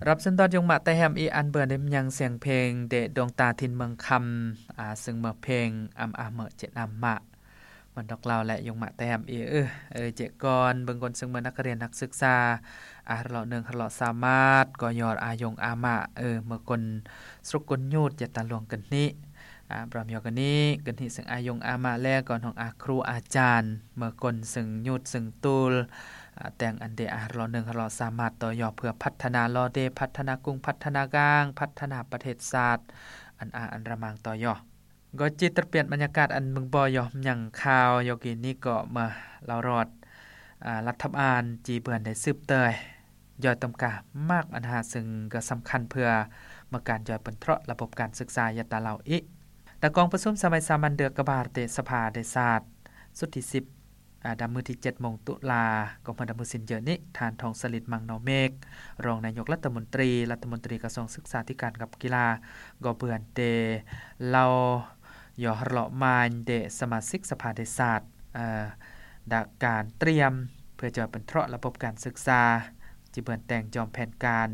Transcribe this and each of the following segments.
ຮັບເຊີນຕ້ອນຍົງມະແຕແຮມອີກອັນເບື່ອໄດ້ມາຍັງສຽງເພງເດດວງຕາຖິ່ນເມືອງຄຳ ອາ ເຊິ່ງເມື່ອເພງອຳອາເມີເຈັດອຳມະ ມັນດອກລາວ ແລະ ຍົງມະແຕແຮມອີກ ເອີ ເອີ ເຈກອນ ເບິ່ງກົນເຊິ່ງເມື່ອນັກຮຽນນັກສຶກສາ ອາ ຮະເລາະໜຶ່ງ ຮະເລາະສາມາດ ກໍຍອດອາຍົງອາມະ ເອີ ເມື່ອກົນ ສຣົກກົນຍູດ ຢາຕາຫຼວງກັນນິ ອາ ບຣອມຍອກັນນິ ກັນນິເຊິ່ງອາຍົງອາມະ ແລະ ກໍນ້ອງອາຄຣູອາຈານ ເມື່ອກົນເຊິ່ງຍູດເຊິ່ງຕູລ ອາ ແຕ່ງອັນເດອາຮະເລາະໜຶ່ງ ຮະເລາະສາມາດ ຕໍ່ຍອດເພື່ອພັດທະນາລໍເດ ພັດທະນາກຸງ ພັດທະນາກາງ ພັດທະນາປະເທດຊາດ ອັນອາອັນລະມັງຕໍ່ຍອດ ກໍຈິດຕະປຽນບັນຍາກາດອັນເບິ່ງບໍ່ຍອມຍັງຂ່າວ ຍອກກີນນີ້ກໍມາລາວຣອດ ອາ ລັດຖະບານຈີເບືອນໄດ້ສືບເຕີຍ ຢອຍຕົມກາມາກອັນຫາ ເຊິ່ງກໍສຳຄັນເພື່ອມາການຢອຍເປິນເທາະລະບົບການສຶກສາ ຢາຕາລາວອີກ ຕະກອງປະຊຸມສະໄໝສາມັນເດືອນກະບາເຕະສະພາແຫ່ງຊາດ ຊຸດທີສິບ ອາ ດຳມື້ທີເຈັດໂມງຕຸລາ ກໍເມື່ອດຳມື້ສິ້ນເຈີນີ້ ທ່ານ ທອງສະລິດ ມັງນໍເມກ ຮອງນາຍົກລັດຖະມົນຕີ ລັດຖະມົນຕີກະຊວງສຶກສາທິການກັບກິລາ ກໍເບືອນເຕເລົ່າ ຍໍຮະເລາະມາຍເດສະມາຊິກສະພາແຫ່ງຊາດ ເອີ ດາການຕຽມເພື່ອຈອຍເປິນເທາະລະບົບການສຶກສາ ຈິເບືອນແຕ່ງຈອມແຜນການ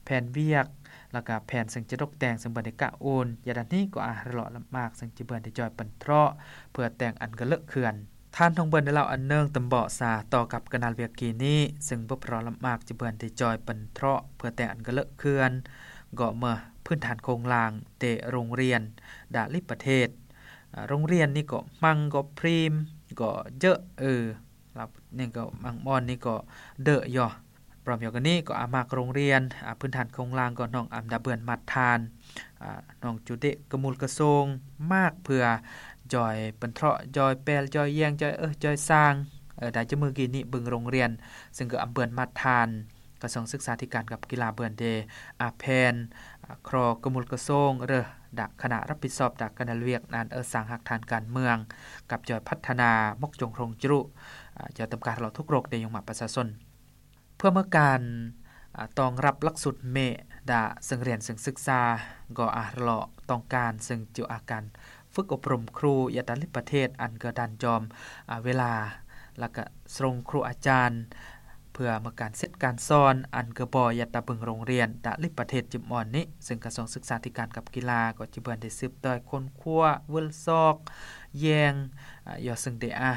ແຜນວຽກ ແລ້ວກະແຜນເຊິ່ງຈະຕົກແຕ່ງເຊິ່ງເບືອນໄດ້ກະໂອນ ຢາດານນີ້ກໍອາຮະເລາະລະໝາກ ເຊິ່ງຈິເບືອນໄດ້ຈອຍເປິນເທາະ ເພື່ອແຕ່ງອັນກະເລີະເຂື່ອນ ທ່ານ ທອງເບືອນ ໄດ້ເລົ່າອັນເນີງຕຳເບາະສາຕໍ່ກັບກະນາລະເວກກີນີ້ ເຊິ່ງບົບຮອລະໝາກ ຈະເບືອນໄດ້ຈອຍເປັນເທາະ ເພື່ອແຕ່ງອັນກະເລີະເຂື່ອນ ກໍເມື່ອພື້ນຖານໂຄງລ່າງເຕະໂຮງຮຽນດາລິປະເທດ ອາ ໂຮງຮຽນນີ້ກໍມັງກໍພຣີມກໍເຈີເອີ ລາວນີ້ກໍມັງມ່ອນນີ້ກໍເດີຢໍ ພ້ອມດຽວກັນນີ້ກໍອາມາກໂຮງຮຽນ ອາ ພື້ນຖານໂຄງລ່າງກໍນ້ອງອຳດາເບືອນມາດທານ ອາ ນ້ອງຈູເດະກະມູນກະໂຊງ ມາກເພື່ອຈອຍເປັນເທາະ ຈອຍແປລ ຈອຍແຍງ ຈອຍເອີ ຈອຍສ້າງ ເອີ ດາຈະມື້ກີ້ນີ້ເບິ່ງໂຮງຮຽນ ເຊິ່ງກໍອຳເບືອນມາດທານ ກະຊວງສຶກສາທິການກັບກິລາເບືອນເດ ອາແພນ ອາ ຄຣອກະມູນກະໂຊງ ເອີ ດາຄະນະຮັບຜິດຊອບ ດາຄະນະວຽກນານເອີ ສ້າງຮາກຖານການເມືອງ ກັບຈອຍພັດທະນາ ໝົກຈົງໂຮງຈະລຸ ອາ ຈອຍຕຳການເລາະທຸກໂລກເດຍົງມະປະຊາຊົນ ເພື່ອເມື່ອການ ອາ ຕ້ອງຮັບຫຼັກສູດເມດາເຊິ່ງຮຽນເຊິ່ງສຶກສາ ກໍອາຮະເລາະຕ້ອງການເຊິ່ງຈຸອາການຝຶກອົບຮົມຄູ ຢາດຕາລິປະເທດ ອັນເກີດດັນຈອມ ອາ ເວລາ ແລ້ວກະຊົງຄູອາຈານ ເພື່ອເມື່ອການເສັດການສອນ ອັນເກີດບໍ່ຢາດຕາເບິ່ງໂຮງຮຽນ ຕາລິປະເທດຈິມອອນນີ້ ເຊິ່ງກະຊວງສຶກສາທິການກັບກິລາ ກໍຈະເບືອນໄດ້ສືບຕໍ່ຄົ້ນຄວ້າ ເວີລຊອກ ແຍງ ອາ ຢໍເຊິ່ງເດອາ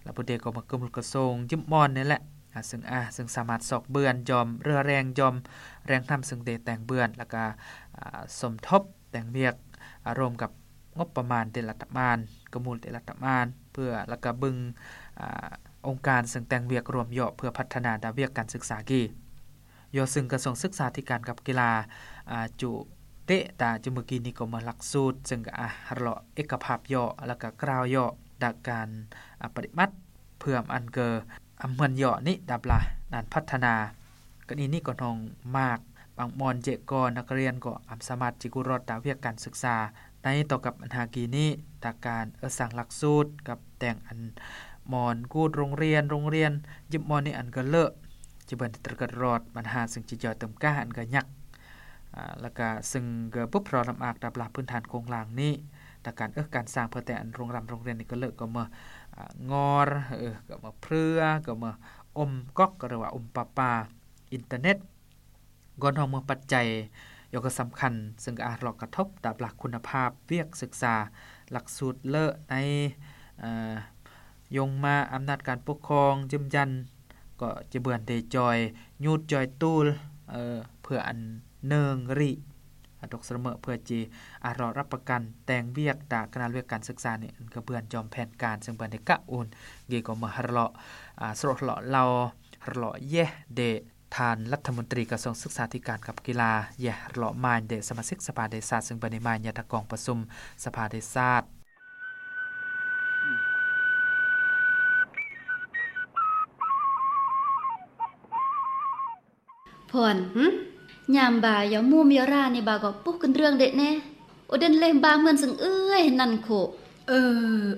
ລະບຸເດກໍມາກະມຸນກະຊົງ ຢິມອອນນີ້ແຫຼະ ອາ ເຊິ່ງ ອາ ເຊິ່ງສາມາດຊອກເບືອນ ຍອມເຫຼືອແຮງ ຍອມແຮງນຳເຊິ່ງເດແຕ່ງເບືອນ ແລ້ວກະ ອາ ສົມທົບແຕ່ງວຽກ ອາ ຮ່ວມກັບງົບປະມານແຕ່ລະຕະມານ ກະມູນແຕ່ລະຕະມານ ເພື່ອ ແລ້ວກະເບິ່ງ ອາ ອົງການເຊິ່ງແຕ່ງວຽກຮ່ວມເຍາະ ເພື່ອພັດທະນາດ້ານວຽກການສຶກສາກີ ເຍາະເຊິ່ງກະຊວງສຶກສາທິການກັບກິລາ ອາ ຈຸເຕະຕາຈຸມື້ກີ້ນີ້ກໍມາຫຼັກສູດ ເຊິ່ງກະ ອາ ຮະເລາະເອກະພາບເຍາະ ແລ້ວກະກ່າວເຍາະ ດ້ານການ ອາ ປະຕິບັດ ເພື່ອອັນເກີດອຳເໝືອນເຍາະນີ້ດັບລະ ດ້ານພັດທະນາ ກະນີນີ້ກໍນ້ອງມາກ ບາງບ່ອນເຈະກໍນັກຮຽນກໍອຳສາມາດຈິກຸດລອດຕາວຽກການສຶກສາ ໃນຕໍ່ກັບອັນຫາກີນີ້ ຕາການເອີສາງຫຼັກສູດ ກັບແຕ່ງອັນໝອນກູດໂຮງຮຽນ ໂຮງຮຽນຢິບໝອນນີ້ອັນກະເລີະ ຈະເບິ່ນຕະກະລອດບັນຫາເຊິ່ງຈິຈອຍເຕີມກາອັນກະຍັກ ອາ ລະກະເຊິ່ງກະບຸບຮອລຳອາກດັບລະພື້ນຖານໂຄງລ່າງນີ້ ຕາການເອີການສ້າງເພື່ອແຕ່ງອັນໂຮງຮຽນ ໂຮງຮຽນນີ້ກະເລີະ ກໍເມື່ອ ອາ ງໍ ເອີ ກໍເມື່ອເພືອ ກໍເມື່ອອົມກອກ ຫຼືວ່າອົມປະປາ ອິນເຕີເນັດ ກ່ອນຮອງເມືອງປັດໄຈ ກໍສຳຄັນ ເຊິ່ງອາດກະທົບຕາບຫຼັກຄຸນນະພາບວຽກສຶກສາ ຫຼັກສູດເລີະໃນ ເອີ ຍົງມາອຳນາດການປົກຄອງຢືນຢັນ ກໍຈະເບືອນເດຈອຍຍູດຈອຍຕູນ ເອີ ເພື່ອອັນເນີງຣີ ອາ ຕົກສະເໝີ ເພື່ອຈິອາດເລາະຮັບປະກັນແຕ່ງວຽກຕາກະນະວຽກການສຶກສານີ້ ອັນກະເບືອນຈອມແຜນການ ເຊິ່ງເບືອນໄດ້ກະໂອນ ເກກໍມາຮະເລາະ ອາ ສະເລາະເລົ່າ ຮະເລາະແຢເດ ທ່ານລັດຖະມົນຕີກະຊວງສຶກສາທິການກັບກິລາ ແຢຮະເລາະມາຍເດ ສະມາຊິກສະພາແຫ່ງຊາດ ເຊິ່ງເປັນມາຍາດຕະກອງປະຊຸມສະພາແຫ່ງຊາດ. ພອນ ຫຶ? ຍາມບາຢາມຸມຢາຣານີ້ບາກໍປຸກຂຶ້ນເລື່ອງເດະແນ່ ໂອເດັນເລມບາເໝືອນຊຶງເອື້ອຍນັ້ນໂຄ. ເອີ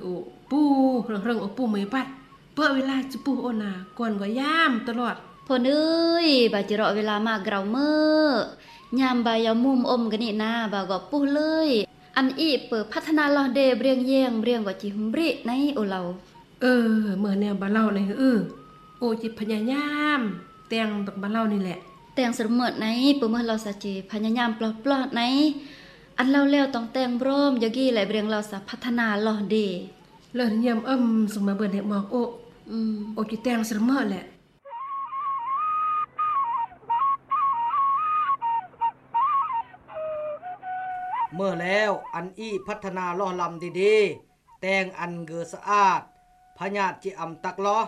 ໂອ ປູ ເລິງໆ ໂອປູເມຍປັດ ເປິດເວລາຈະປຸໂອນາ ກ່ອນກໍຍາມຕະຫຼອດ. ພອນເອີຍ ບາຈະເລາະເວລາມາກເກົາເມີ ຍາມບາຢາມຸມອົມກະນິນາ ບາກໍປຸເລີຍ ອັນອີເປີພັດທະນາລອເດ ເບຣຽງແຍງ ເບຣຽງກໍຈິມບຣິໃນໂອເລົາ. ເອີ ເມື່ອແນວບາເລົາໃນ ເອີ ໂອຈິພະຍາຍາມ ແຕ່ງຕົກບາເລົານີ້ແຫຼະ ແຕ່ງສະເໝີດໄນ ເປີເມີລາວສາເຈ ພະຍາຍາມປອບໆໄນ ອັນລາວແລ້ວຕ້ອງແຕ່ງບຣອມ ຢາກີແລະເບຣງລາວສາພັດທະນາລອດເດ. ເລີນຍາມອຳ ສຸມາເບິ່ນເຮັດໝອກໂອ ອືມ ໂອຈິແຕ່ງສະເໝີດແຫຼະ. ເມີແລ້ວ ອັນອີ່ພັດທະນາຫຼໍ່ລຳດີໆ ແຕ່ງອັນເກີສະອາດ ພະຍາດຈິອຳຕັກຫຼໍ່